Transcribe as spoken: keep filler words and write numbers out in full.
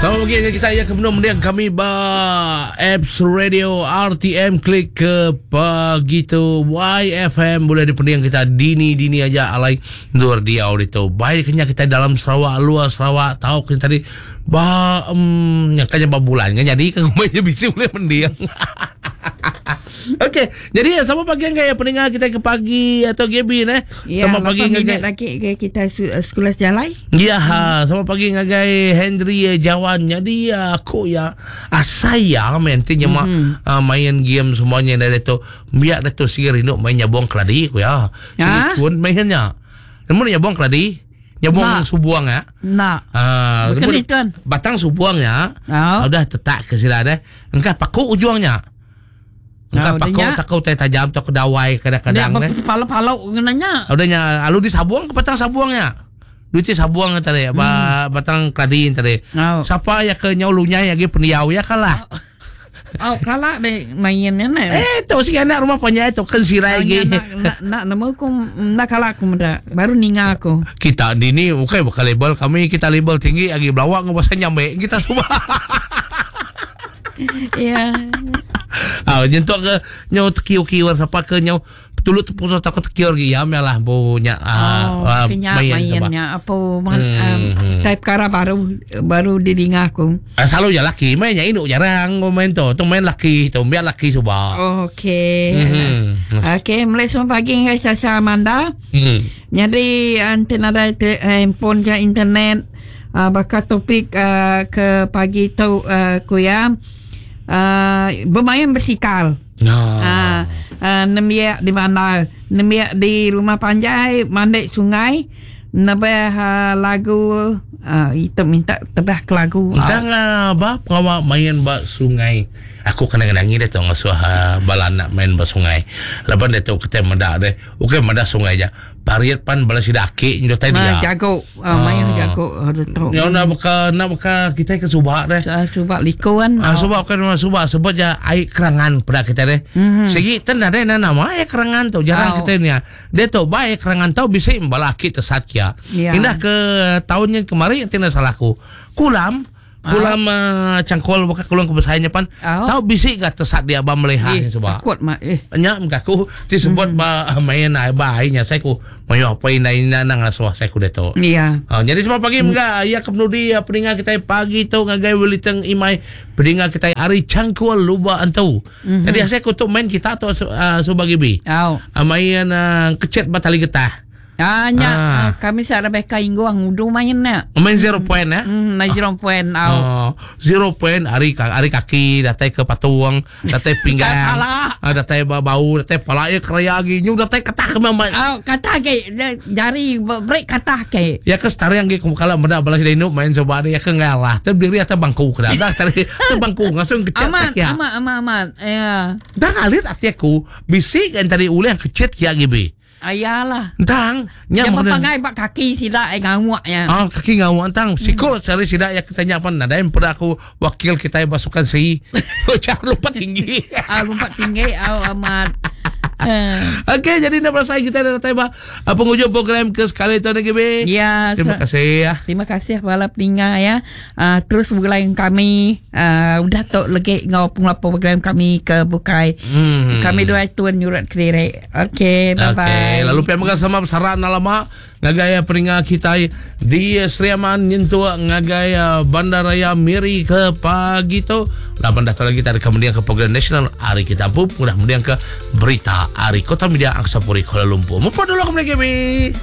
Selamat pagi dengan kita yang kebenar mendiang kami ba Apps Radio R T M, klik ke pagi tu Y F M boleh dipendiang kita dini-dini aja alai nur dia itu. Baik kenya kita dalam Sarawak, luar Sarawak, tahu kita tadi ba um, yang kanya ba bulan kan, jadi kan rumahnya bisa boleh mendiang. Okey, jadi sama pagi dengan pendengar kita ke pagi atau G B eh. Ya, sama pagi lapan minit dengan lagi ke kita su- sekolah sejalai. Ya, ha, sama pagi ngagai Henry eh, Jawan. Jadi aku ya asaya main ti nya mm-hmm. uh, main game semuanya dari tu. Biar dah tu sigi rindu main nyabong keladi aku ya. Sigi Ha? cun mainnya. Nemu nyabong keladi? Nyabong Nak. subuang ya. Nak. Ah, Bukan nemu ni, tuan. Batang subuang ya. Oh. Udah tetak ke sila deh. Engkau paku ujungnya. Engkau Ah, paku udahnya. takut teh tajam takut dawai kadang-kadang deh. Palo-palo ngenanya. Udahnya alu disabuang ke batang sabuangnya. Duit sabuang tadi, hmm. ba, batang keladi tadi. Oh. Siapa ya ke nyau lunyai lagi pendiau ya kalah. Oh, kalah deh mainnya ne. Eh, tu si anak rumah panjang itu kan sirai lagi. Nak nak nak nemu aku nak kalah aku muda. Baru ninga aku. Kita di ni bukan bukan label kami, kita label tinggi lagi belawak ngubah nyambe kita semua. Ya. Ah, nyentuh ke nyau tekiu-kiu siapa ke nyau tulut tepung takut tekiu lagi ya melah punya ah, Oh, ah, kenya main sebab. mainnya apa man, Hmm, um, hmm. type kara baru baru didinga aku. Ah, selalu ya laki mainnya induk jarang main tu. Tu main laki tu biar laki cuba. Okey. Hmm. Okey, mulai semua pagi dengan Sasha Amanda. Hmm. Jadi ante ada te- handphone ke internet uh, bakal topik uh, ke pagi tu uh, kuya uh, bermain bersikal. Nah. Ah, uh, nembiak di mana? Nembiak di rumah panjai, mandek sungai, nebah uh, lagu uh, itu minta tebah ke lagu. Entah uh, ba pengawak main ba sungai. Aku kadang-kadang dia tu ngasuh uh, bala anak main ba sungai. Laban dia tu kita mendak deh. Okey mendak sungai je. Pariat pan bala sida aki nyo tadi Ah, dia. jago, uh, main jago uh, tu. Nyo nak buka nak buka kita ke subak deh. Uh, subak likuan. Ah, subak kan subak sebut je air kerangan pada kita deh. Mhm. Segi ten ada na nama air kerangan tu jarang Oh. kita ni. Dia tu ba air kerangan tu bisa bala aki tesat kia. Ya. Indah ke tahunnya kemarin tidak salahku. Kulam kulam uh, cangkol bukan kulam kebesarannya pan. Oh. Tahu bisik gak tesat dia abang melihat Eh, sebab. takut mak eh. Nya aku disebut ba main air ba airnya saya ku mayo apa ina ina nang asuh saya ku dia tu. Ya. Ha, jadi sebab pagi hmm. Mga ya kepenudi ya, pendengar kita pagi tu ngagai Wellington Imai pendengar kita hari cangkul luba antu. Mm-hmm. Jadi saya kutuk main kita tu uh, subagi bi. Oh. Uh, main uh, kecet batali getah. Ah, nya, Ah. ah. Kami sa Rebecca Ingguang udu main nak. Main zero point ya. Hmm, na zero point au. Oh, zero point hari hari kaki datai ke patung, datai pinggang. Kepala. Ah, datai bau, datai pala ya keraya lagi. Nyu datai ketah ke memang. Au, kata ke jari break kata ke. Ya ke setara yang ke kalau benda balas dino main coba dia ke ngalah. Tapi berdiri atas bangku kena. Dah tadi atas bangku langsung kecet Aman, ya. aman, aman, aman. Ya. Dah ngalit hati aku bisik kan tadi ulih yang kecet ya gibi. Ayalah. Entang nya Yang mana papangai bak kaki sila eh ngawak ya. Ah, kaki ngawak entang. Siko cari sidak ya kita apa nada yang pada aku wakil kita pasukan si. Cara lompat tinggi. Ah, lompat tinggi au amat. Eh, Okey, jadi nak berasa kita dah datang ba penghujung program ke sekali tu lagi be. Ya, Terima kasih ya. Terima kasih bala peninga ya. Uh, terus bergulai dengan kami. Uh, udah tok lagi ngau pengelap program kami ke Bukai. Hmm. Kami dua tuan nyurat kelirik. Okey, bye bye. Okey, lalu pihak menga sama saran lama ngagai peninga kita di Sri Aman nyentuh ngagai uh, Bandaraya Miri ke pagi tu. Lapan datang lagi tarik kemudian ke program nasional hari kita pun kemudian ke berita hari Kota Media Angsa Puri Kuala Lumpur. Mupa dulu kemudian kami.